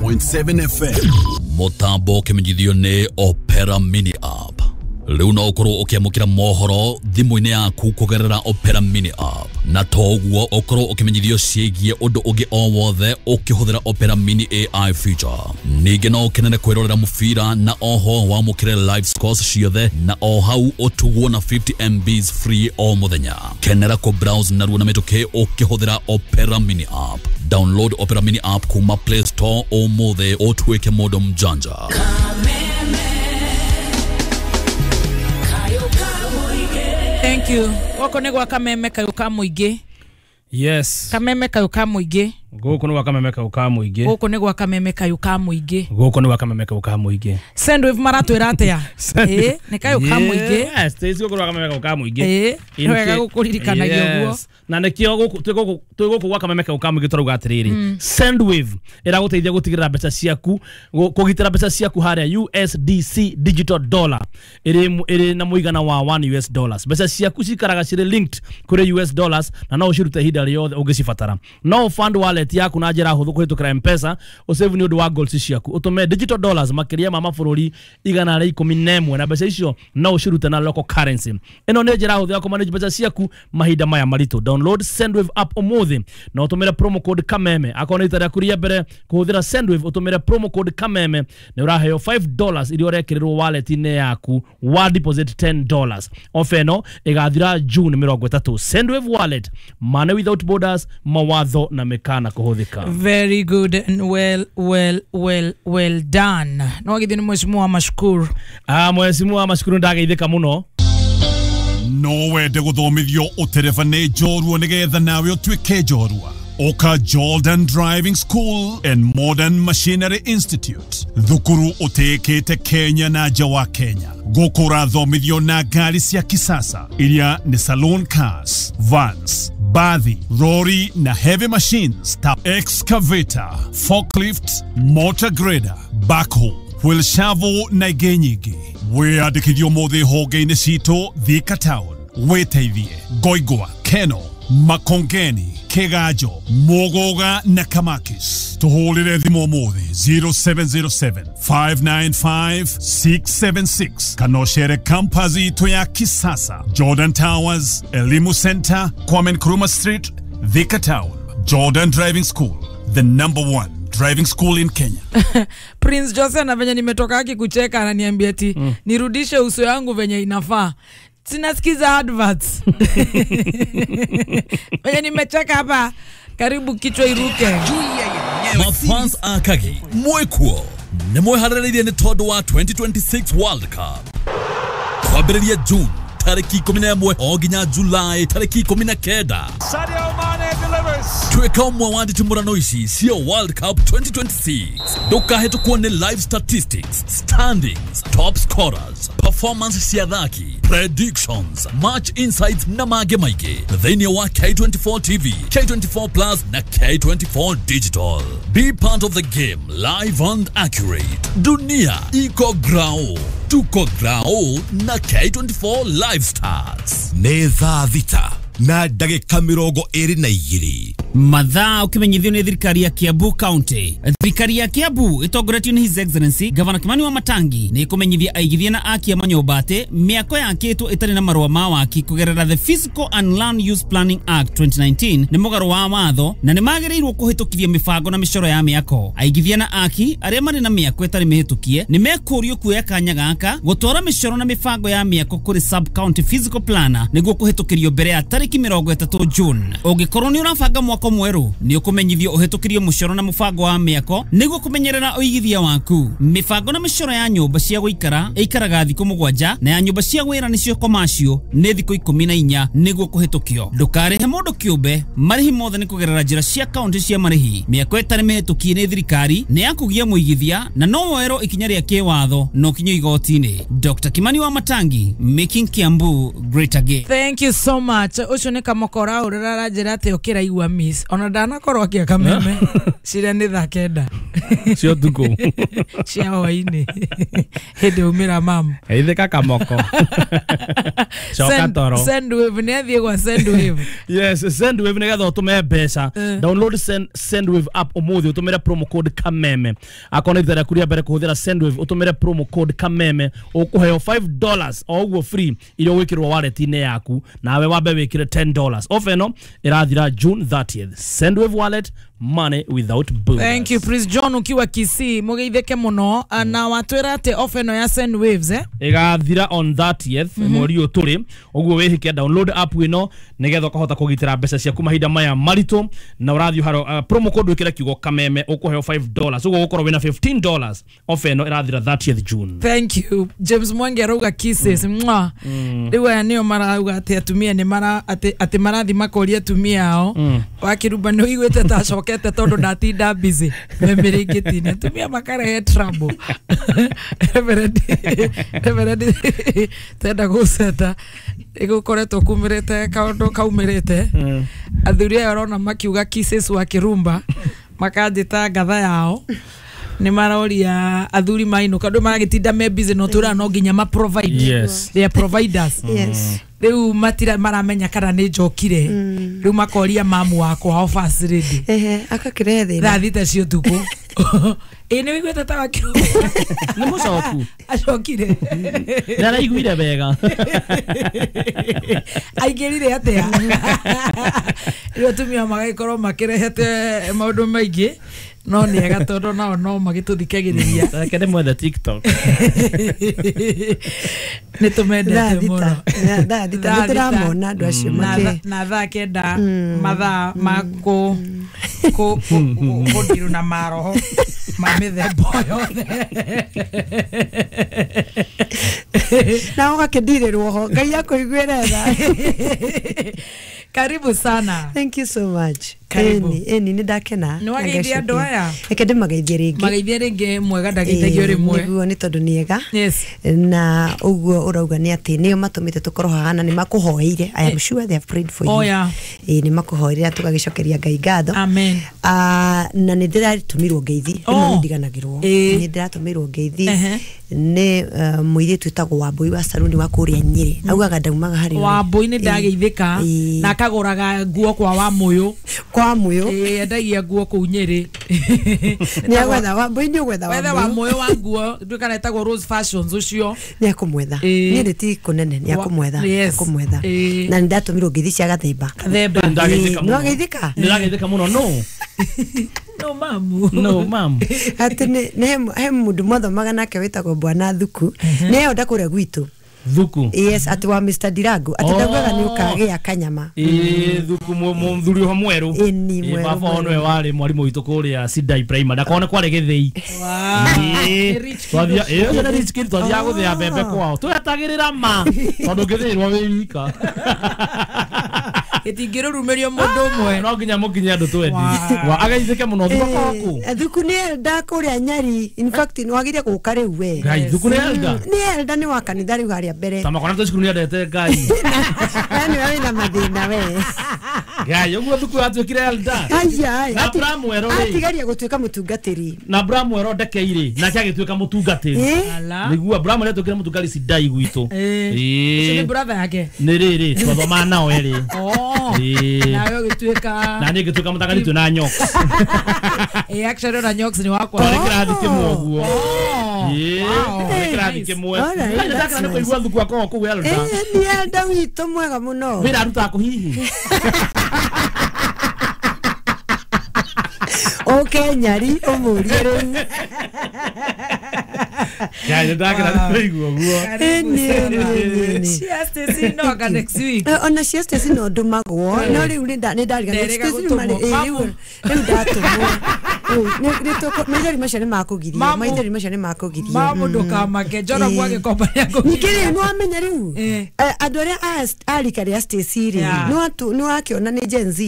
101.7 FM. Mũtambo ũkĩmenyithio nĩ Opera Mini App. Rĩu no ũkorwo ũkĩamũkĩra mohoro thimũ-inĩ yaku kũgerera Opera Mini App, na to ũguo ũkorwo ũkĩmenyithio ciĩgiĩ ũndũ ũngĩ o wothe ũkĩhũthĩra Opera Mini AI feature. Ningĩ no ũkenere kwĩrorera mũbira na oho wamũkĩre live scores ciothe na o hau ũtugwo na 50 MBs free o mũthenya. Kenera kũ browse narua na mĩtũkĩ ũkĩhũthĩra Opera Mini App. Download Opera Mini App kuma Play Store ũmũthĩ ũtuĩke mũndũ mjanja. Thank you. Gũkũ nĩ gwa Kameme kayũ ka mũingĩ. Yes. Kameme kayũ ka mũingĩ. Gũkũ nĩ gwa Kameme kayũ ka mũingĩ. Gũkũ nĩ gwa Kameme kayũ ka mũingĩ. Gũkũ nĩ gwa Kameme kayũ ka mũingĩ. Sendwave maratwĩra atĩa? Ĩĩ, nĩ kayũ ka mũingĩ. Yes, tĩ gũkũ nĩ gwa Kameme kayũ ka mũingĩ. Ĩĩ, nĩ wega gũkũririkanagia ũguo. Na nĩkĩo gũkũ twĩ gũkũ gwa Kameme kayũ ka mũingĩ tũrauga atĩrĩrĩ, Sendwave ĩragũteithia gũtigĩrĩra mbeca ciaku, kũgitĩra mbeca ciaku harĩa USDC digital dollar ĩrĩ na mũigana wa 1 US dollars. Mbeca ciaku cikaraga cirĩ linked kũrĩ US dollars na no ũcirute ihinda rĩothe ũngĩcibatara. No fund wallet yaku na njĩra hũthũ kũhĩtũkĩra M-Pesa, ũsave nĩ ũndũ wa goals ciaku, ũtũme digital dollars makĩria ma mabũrũri 111 na mbeca icio no ũcirute na local currency. Ĩno nĩ njĩra hũthũ ya kũmanage mbeca ciaku mahinda maya maritũ. Download Sendwave app ũmũthĩ na ũtũmĩre promo code Kameme. Akorwo nĩ rita rĩaku rĩa mbere kũhũthĩra Sendwave, ũtũmĩre promo code Kameme nĩ ũraheo $5 iria ũrekĩrĩrwo wallet-inĩ yaku wa deposit $10. Ofa ĩno ĩgathira June 30. Sendwave wallet, money without borders, mawatho na mĩkana kũhũthĩka. Very good and well, well, well, well done. No githĩ nĩ Mheshimiwa Mashukuru. Mheshimiwa Mashukuru ndageithĩka mũno. No wende gũthomithio ũtereba nĩ njorua nĩgetha nawe ũtuĩke njorua. Oka Jordan Driving School and Modern Machinery Institute, thukuru ũtĩĩkĩte Kenya na nja wa Kenya. Gũkũ ũrathomithio na ngari cia kisasa iria nĩ saloon cars, vans, bathi, lorry na heavy machines ta excavator, forklift, motor grader, backhoe, wheel shovel na ingĩ nyingĩ. Wĩyandĩkithio ũmũthĩ honge-inĩ citũ Thika Town, wĩteithie Ngoingwa, Keno, Makongeni, Kiganjo, Muguga na Kamakis. Tuhũrĩre thimũ ũmũthĩ 0707 595 676 kana ũcere campus itũ ya kisasa, Jordan Towers, Elimu Center, Kwame Nkrumah Street, Thika Town. Jordan Driving School, the number one driving school in Kenya. Prince Jose na venye nimetoka haki kucheka ananiambia ati nirudishe uso yangu venye inafaa. Sinasikiza adverts. Venye nimecheka hapa karibu kichwa iruke. Mafans akagi mwekuo nĩ mweharĩrĩirie nĩ tondũ wa 2026 World Cup kwambĩrĩria June tarĩki 11 o nginya July tarĩki 19. Sadio Mane delivers. Tuĩka ũmwe wa nditimũrano ici cia World Cup 2026. Ndũkahĩtũkwo nĩ live statistics, standings, top scorers, performance cia athaki, predictions, match insights na mangĩ maingĩ thĩinĩ wa K24 TV, K24 Plus na K24 Digital. Be part of the game live and accurate. Dunia iko grao, tuko grao na K24 Live Stars. Nĩ thaa 6 na ndagĩka 22. Mathaa ũkĩmenyithio nĩ thirikari ya Kiambu County. Thirikari ya Kiambu ĩtongoretio nĩ His Excellency Governor Kimani wa Matangi nĩ ĩkũmenyithia aigithia na akia manyũmba atĩ mĩako yakĩtwo ĩtarĩ na marũa ma waki kũgerera the Physical and Land Use Planning Act 2019 nĩ mũgarũ wa watho na nĩ magĩrĩirwo kũhĩtũkithia mĩbango na mĩcoro ya mĩako. Aigithia na aki arĩa marĩ na mĩako ĩtarĩ mĩhĩtũkie nĩ mekũrio kuoya kanya gaka gũtwara mĩcoro na mĩbango ya mĩako kũrĩ sub county physical planner nĩguo kũhĩtũkĩrio mbere ya tarĩki 30 June. Ũngĩkorwo nĩ ũrabanga mwako mwerũ nĩ ũkũmenyithio ũhĩtũkĩrio mũcoro na mũbango wa mĩako nĩguo kũmenyerera ũigithia waku. Mĩbango na mĩcoro ya nyũmba cia gũikara ĩikaraga thikũ 7 na ya nyũmba cia wĩra nĩcio commercial nĩ thikũ 14 nĩguo kũhĩtũkio. Ndũkarĩhe mũndũ kĩũmbe, marĩhi mothe nĩ kũgerera njĩra cia kaunti cia marĩhi. Mĩako ĩtarĩ mĩhĩtũkie nĩ thirikari nĩ ya kũgia mũigithia na no woerwo ikinya rĩa kĩwatho na ũkinyio igoti-inĩ. Dr. Kimani wa Matangi, making Kiambu great again. Thank you so much. Ũcio nĩ kamokora ũrĩa aranjĩra atĩ ũkĩra igua miss. Yes, ona ndanakorwo akia kameme cira nĩ thaa 9 cia ũtukũ cia hwainĩ hĩndĩ umĩra mamu ithika kamoko coka toro. Sendwave nĩ athiĩ gwa Sendwave. Yes, Sendwave nĩgetha ũtũme mbeca. Download Sendwave app ũmũthĩ ũtũmĩre promo code Kameme. Akorwo nĩ rita rĩaku rĩa mbere kũhũthĩra Sendwave ũtũmĩre promo code Kameme ũkũheo $5 o ũguo free iria ũgwĩkĩrwo wallet-inĩ yaku nawe wambe wĩkĩre $10. Offer ĩno ĩrathira June 30th. Sendwave wallet, money without borders. Thank you Prince John ukiwa Kisii mugeitheke muno na watwira ati offer no ya Sendwaves igathira on 30th mweri uyu turi uguo wihike download app ino nigetha ukahota kugitira mbeca ciaku mahinda maya maritu na urathi haro promo code wikire kiugo Kameme ukuheo $5 uguo gukorwo wina $15 offer ino irathira 30th June. Thank you James Mwangi arauga kisses mwa riu aya nio marauga ati atumia ni mara ati marathi makoria atumia ao wakiruba ni uiguite ta acokete tondu ndatinda busy memirĩngĩtine atumia makarehe trouble. Reverend tenda gũceta ĩgũkoretwo kumĩrĩte kaũndũ kaumĩrĩte athuri aya ũrona makiuga kisses wa Kirumba makanjĩta ngatha yao nĩ maroria athuri mainũka andũ maragĩtinda me busy no tũra no nginya ma provide. Yes. They are providers. Yes. Rĩu matira maramenya kana nĩ njokire rĩu makoria mamu wakwa hao first lady akakirehe thĩna thaa thita cia ũtukũ. Ĩ nĩ wĩiguĩte ta wakĩrwo nĩ mũcoku acokire nĩ araiguire wega aingĩrire atĩa rĩu atumia magagĩkorwo makĩrehete maũndũ maingĩ no nĩ ega tondũ nao no magĩtũthikagĩrĩria reke ndĩmwethe TikTok nĩ tũmendete mũno thaa thita nĩ tũramona andũ acio na thaa 9 mathaa ma kũndirũ na maroho ma mĩthemba yothe na ũgakĩndirĩrwo ho Ngai akũiguĩre tha. Karibu sana. Thank you so much. Karibu. Eni nĩ ndakena. Nĩ wageithia andũ aya? Reke ndĩmageithie rĩngĩ. Mageithie rĩngĩ mwega ndageithagio rĩmwe. Nĩguo nĩ tondũ nĩ ega. Yes. Na ũguo ũrauga nĩ atĩ nĩo matũmĩte tũkorwo haha na nĩ makũhoeire. I am sure they have prayed for you. Oh yeah. Nĩ makũhoeire tũgagĩcokeria Ngai ngatho. Amen. Na nĩ ndĩratũmĩrwo ngeithi. Rĩmwe nĩ ndiganagĩrwo. Nĩ ndĩratũmĩrwo ngeithi. Nĩ mũirĩtu wĩtagwo Wambũi wa Saruni wa kũrĩa Nyĩrĩ. Augaga ndaumaga harĩ we. Wambũi nĩ ndageithĩka na akagũraga nguo kwa Wamũyũ. Kwa Mũyũ. Endagia nguo kũu Nyĩrĩ. Nĩ agwetha Wambũi nĩ ũgwetha Wethe Wamũyũ wa nguo nduĩ kana etagwo Rose Fashions ũcio. Nĩ akũmwetha. Nyĩrĩ ti kũnene nĩ akũmwetha. Akũmwetha. Na nĩ ndatũmirwo ngeithi cia Gathemba. Gathemba. Nĩ wageithĩka? Nĩ ndageithĩka mũno no. No mamu. No mamu. Atĩ nĩ he mũndũ mwathomaga nake wĩtagwo Bwana Thuku. Nĩ eonda kũrĩa gwitũ. Thuku. Yes, ati wa Mr. Dirango. Ati ndaugaga nĩ ũkagĩa kanyama. Thuku mũthuri ũcio mwerũ. Ĩni mwerũ. Baba ono we warĩ mwarimũ witũ kũrĩa Sidai Primary. Ndakone kwarĩ gĩthĩi. Twathia ũcio nĩ rich kid twathiaga gũthĩa mbembe kwao. Twetagĩrĩra ma tondũ ũngĩthĩĩrwo wĩ wika. Ĩtingĩrũrumĩrio mũndũ ũmwe. No nginya mũkinye andũ twendi. Ageithĩke mũno Thuku akorwo kũ? Thuku nĩ elder kũrĩa Nyeri. In fact nĩ wagĩrĩire gũka rĩu we. Ngai Thuku nĩ elder? Nĩ elder nĩ wa kanitha rĩu harĩa mbere. Ta makona cukuru nĩ endete Ngai. Na nĩ wĩna mathĩna we. Ngai ũguo Thuku atuĩkire elder. Aya. Na Bramwero rĩ. Atigaria gũtuĩka mũtungatĩri. Na Bramwero ndekeire nake agĩtuĩka mũtungatĩri. Nĩguo Bramwero atuĩkire mũtungatĩri Sidai gwitũ. Ũcio nĩ brother yake. Nĩ rĩrĩ twathomaga nao erĩ. Nawe ũgĩtuĩka na niĩ ngĩtuĩka mũtangathi twĩ na Nyox. Actually na Nyox nĩ wakwa. Twarĩ kĩrathi kĩmwe ũguo. Twarĩ kĩrathi kĩmwe. Ndakena nĩ kũigua Thuku akorwo kũu elder. Nĩ elder witũ mwega mũno. Wĩra arutaga kũ hihi? Ũke Nyari ũmũrie rĩu. Ngai ndakena nĩ kũigua ũguo. Cia Stacy no aka next week. Ona cia Stacy no ndũmagwo no rĩu nĩ ndarigana Stacy rĩu ndatũmwo. Maithori macio nĩ makũgiria. Maithori macio nĩ makũgiria. Mamu ndũkamake Njoro gwagĩkomba nĩ akũgiria. Ningĩ rĩu nĩ wamenya rĩu andũ arĩa a rika rĩa Stacy rĩ nĩ wakĩona nĩ Gen Z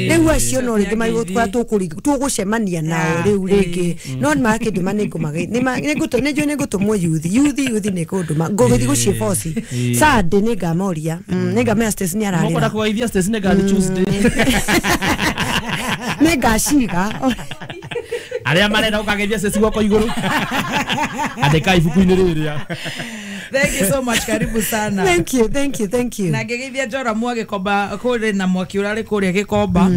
rĩu acio no rĩngĩ marĩgũtwara tũgũcemania nao rĩu rĩngĩ no nĩ makĩndũma nĩ nĩnjũĩ nĩ ngũtũmwo youth nĩ kũndũma ngũgĩthiĩ gũciĩboci Sunday nĩ ngamoria nĩ ngamenya Stacy nĩ ararĩra. Mũkwenda kũgeithia Stacy nĩ ngathi Tuesday. Nĩ ngaciga. Arĩa marenda ũkageithia Ceci guoko igũrũ. Andĩka ibuku-inĩ rĩrĩa. Thank you so much, karibu sana. Thank you, thank you, thank you. Na ngĩgeithia Joramu agĩkomba kũrĩ na mwaki ũrarĩ kũrĩa gĩkomba.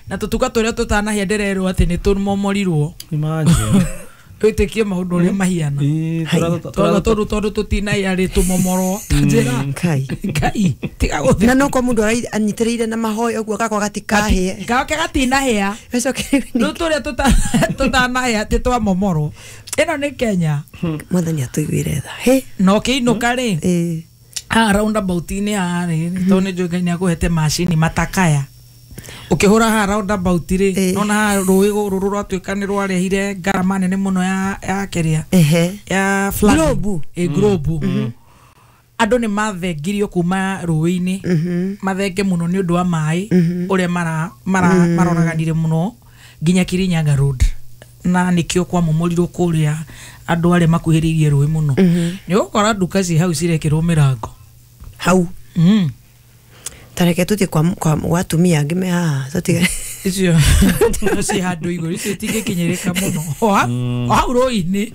Na tũtuka tũrĩa tũtanahĩa ndĩrerwo atĩ nĩ tũmomorirwo. Imagine. Wĩtĩkie maũndũ ũrĩa mahiana. Tondũ tondũ tũtinahĩa rĩ tũmomorwo. Ta njĩra. Ngai. Ngai, tiga gũtheka. Na no kwa mũndũ anyitĩrĩire na mahoya ũguo gakwa gatikahĩe. Gake gatinahĩa. Gacoke Rĩu tũrĩa tũtanahĩa atĩ twamomorwo. Ĩno nĩ Kenya. Mwathani atũiguĩre tha. Hĩ. Na ũkĩinũka rĩ. Haha roundabout-inĩ haha rĩ, tondũ nĩ njũĩ Ngai nĩakũhete macini matakaya. Ũkĩhũra haha roundabout rĩ, nona haha rũĩ rũrũ rwatuĩka nĩ rwarehire ngarama nene mũno ya kĩrĩa. Ya flooding. Globe. Globe. Andũ nĩ mathengirio kuma rũĩ-inĩ. Mathenge mũno nĩ ũndũ wa maĩ ũrĩa maroraganire mũno nginya Kirinyaga Road. Na nĩkĩo kwamomorirwo kũrĩa andũ arĩa makuhĩrĩirie rũĩ mũno. Nĩ ũgũkora nduka ci hau cirekĩrwo mĩrango. Hau. Tareke tutie kwa atumia angĩ me haha tũtige. Icio ci handũ igũrũ icio itingĩkinyĩrĩka mũno. O hau rũĩ-inĩ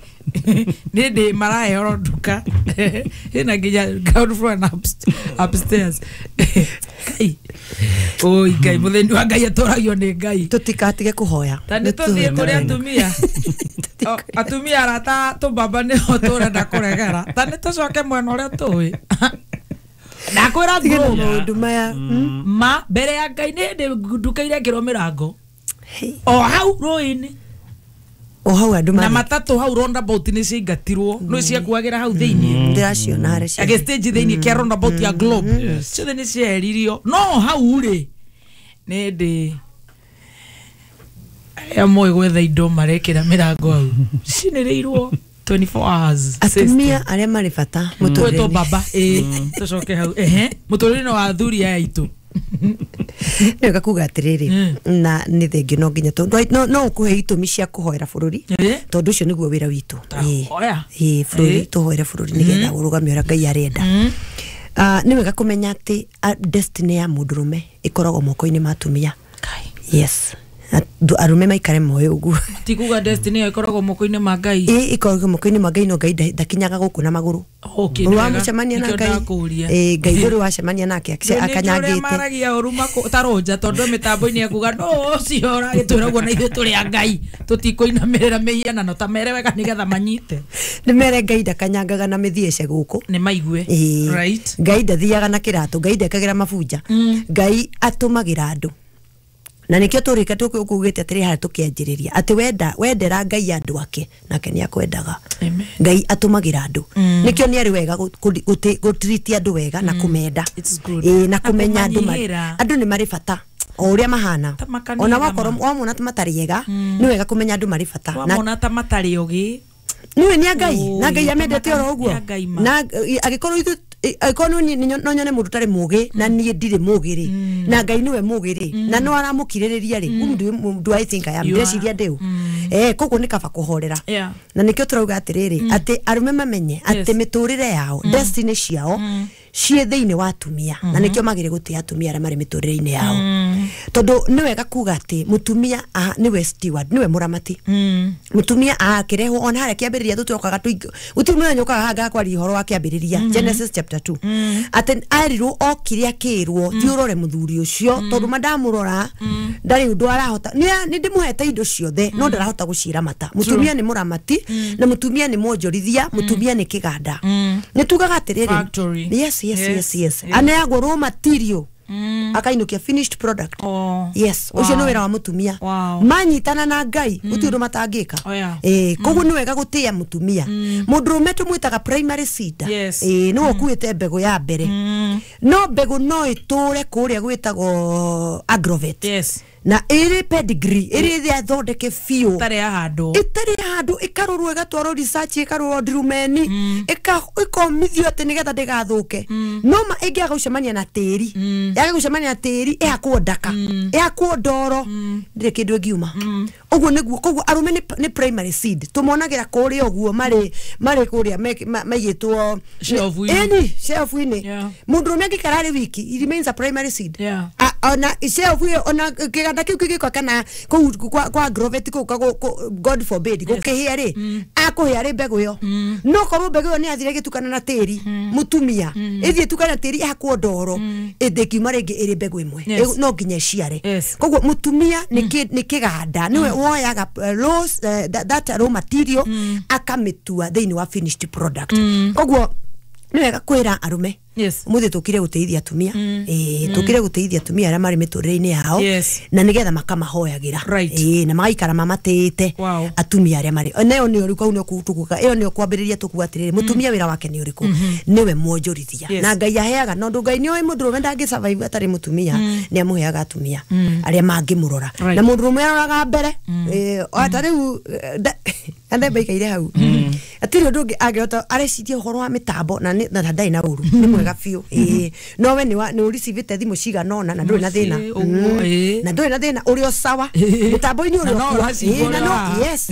nĩ ndĩ maraheo nduka ĩna nginya ground floor and upstairs. Ngai. Oi Ngai, mũthĩni wa Ngai atũragio nĩ Ngai. Tũtikatige kũhoya. Ta nĩ tũthiĩ kũrĩ atumia. Atumia arata tũmbamba nĩho tũrenda kũregera. Ta nĩ tũcoke mwena ũrĩa tũĩ. Ndakwĩra maũndũ maya. Ma mbere ya Ngai nĩ hĩndĩ nduka irekĩrwo mĩrango. O hau rũĩ-inĩ. O hau andũ na matatũ hau roundabout nĩ ciaingatirwo. Nĩ ciakuagĩra hau thĩinĩ. Ndĩraciona harĩa cia. Agĩ stage thĩinĩ kĩa roundabout ya Globe. Ciothe nĩ cieheririo. No hau rĩ nĩ ndĩ arĩa moĩ gwetha indo marekĩra mĩrango hau. Cinĩrĩirwo 24 hours. Atumia arĩa marĩ bata mũtũrĩre-inĩ. Twĩtwo baba. Tũcoke hau. Mũtũrĩre-inĩ wa athuri aya aitũ. Nĩ wega kuga atĩrĩrĩ na nĩ thengio no nginya tondũ no ũkũhe itũmi cia kũhoera bũrũri tondũ ũcio nĩguo wĩra witũ. Bũrũri tũhoere bũrũri nĩgetha ũrũgame ũrĩa Ngai arenda. Nĩ wega kũmenya atĩ destiny ya mũndũrũme ĩkoragwo moko-inĩ ma atumia. Yes. Arũme maikare moyo ũguo. Ti kuga destiny ĩyo ĩkoragwo moko-inĩ ma Ngai. Ĩkoragwo moko-inĩ ma Ngai no Ngai ndakinyaga gũkũ na magũrũ. Ũramũcemania na Ngai. Ngai ndũrĩ wacemania nake akanyangĩte. Maragia ũru tarũnja tondũ mĩtambo-inĩ ekuga no ũcio ũragĩtwĩra ũguo na ithuĩ tũrĩ a Ngai tũtikũinamĩrĩra mĩhianano ta mere wega nĩgetha manyite. Nĩ mere Ngai ndakanyangaga na mĩthiĩce gũkũ. Nĩ maigue. Right. Ngai ndathiaga na kĩratũ, Ngai ndekagĩra mabunja. Ngai atũmagĩra andũ. Na nikio tũrĩka tũkugĩte atĩrĩ harĩa tũkĩanjĩrĩria atĩ wendera Ngai andũ ake nake nĩ akwendaga. Ngai atũmagĩra andũ. Nĩkĩo nĩ arĩ wega gũtiriti andũ wega na kũmenda. Na kũmenya andũ andũ nĩ marĩ bata o ũrĩa mahana. Ona wakorwo wamona ta matarĩ ega nĩ wega kũmenya andũ marĩ bata. Wamona ta matarĩ ogĩ. Nĩwe nĩ Ngai na Ngai amendete oro ũguo. Na angĩkorwo ithuĩ angĩkorwo no nyone mũndũ ũtarĩ mũgĩ na niĩ ndirĩ mũgĩ rĩ na Ngai nĩwe mũgĩ rĩ na no aramũkirĩrĩria rĩ whom do I think I am? Ndĩreciria ndĩũ. Koguo nĩ kaba kũhorera. Na nĩkĩo tũrauga atĩrĩrĩ atĩ arũme mamenye atĩ mĩtũrĩre yao destiny ciao ciĩ thĩinĩ wa atumia na nĩkĩo magĩrĩ gũtĩa atumia arĩa marĩ mĩtũrĩre-inĩ yao. Tondũ nĩ wega kuga atĩ mũtumia nĩwe steward, nĩwe mũramati. Mũtumia akĩrehwo ona harĩa kĩambĩrĩria tũtũkaga gũtirĩ mũthenya ũkaga haha ngakwaria ũhoro wa kĩambĩrĩria Genesis chapter 2 atĩ arirwo okire akĩrwo thiĩ ũrore mũthuri ũcio tondũ ma ndamũrora ndarĩ ũndũ arahota nĩ ndĩmũhete indo ciothe no ndarahota gũciramata. Mũtumia nĩ mũramati na mũtumia nĩ mwonjorithia, mũtumia nĩ kĩganda. Nĩ tugaga atĩrĩrĩ yes yes yes yes aneagwo raw material akainukia finished product. Yes, ũcio nĩ wĩra wa mũtumia. Manyitana na Ngai gũtirĩ ũndũ matangĩka. Koguo nĩ wega gũtĩa mũtumia. Mũndũrũme tũmwĩtaga primary seed. Nĩwe ũkuĩte mbegũ ya mbere. No mbegũ no ĩtũre kũrĩa gwĩtagwo agrovet. Na ĩrĩ pedigree ĩrĩ thondeke biũ ĩtarĩ ya handũ ĩkarorwo ĩgatwarwo research ĩkarorwo ndirumeni ĩkomithio atĩ nĩgetha ndĩgathũke. No ma ĩngĩaga gũcemania na tĩri yaga gũcemania na tĩri ĩhakwo ndaka ĩhakwo ndoro ndĩrĩ kĩndũ ĩngiuma. Ũguo nĩguo koguo arũme nĩ primary seed tũmonagĩra kũrĩa ũguo marĩ kũrĩa maigĩtwo shelf-inĩ. Mũndũrũme angĩikara arĩ wiki he remains a primary seed. Ona shelf ĩyo, ona kĩganda kĩu kĩgĩkwa kana kũu kwa Agrovet kũu God forbid gũkĩhĩa rĩ, akũhĩa rĩ mbegũ ĩyo, no korwo mbegũ ĩyo nĩ yathire ĩgĩtukana na tĩri, mũtumia ĩthiĩ ĩtukane na tĩri ĩhakwo ndoro, ĩndĩkiuma rĩngĩ ĩrĩ mbegũ ĩmwe. No nginya ĩciare. Koguo mũtumia nĩ kĩganda, nĩwe woyaga that raw material akamĩtua thĩinĩ wa finished product. Koguo nĩ wega kwĩra arũme, umuthi tukire guteithia atumia, tukire guteithia atumia aria mari miturire-ini yao, na nigetha makamahoyagira, na magaikara mamatĩte. Atumia aria mari nayo nĩ ũrĩkũ, au nĩ tukuga ĩyo nĩyo kwambĩrĩria tukuga atĩrĩrĩ, mũtumia wĩra wake nĩ ũrĩkũ? Nĩwe mwonjorithia, na Ngai aheaga, na ũndũ Ngai nĩoĩ mũndũrũme ndangĩ survive atarĩ mũtumia, nĩ amũheaga atumia arĩa mangĩmũrora, na mũndũrũme aroraga mbere. Ta rĩu andemba ikaire hau, atirĩ ũndũ ũngĩ angĩhota, areciria ũhoro wa mĩtambo, na ndarĩ na ũru, nĩ mwega biũ. No we nĩ ũricivĩte thimũ cigana ũna na ndũrĩ na thĩna. Mũciĩ, ũguo, Na ndũrĩ na thĩna, ũrĩ o sawa mĩtambo-inĩ, ũrĩ Na no o kuo. ũracigua Na ũrĩa no, yes.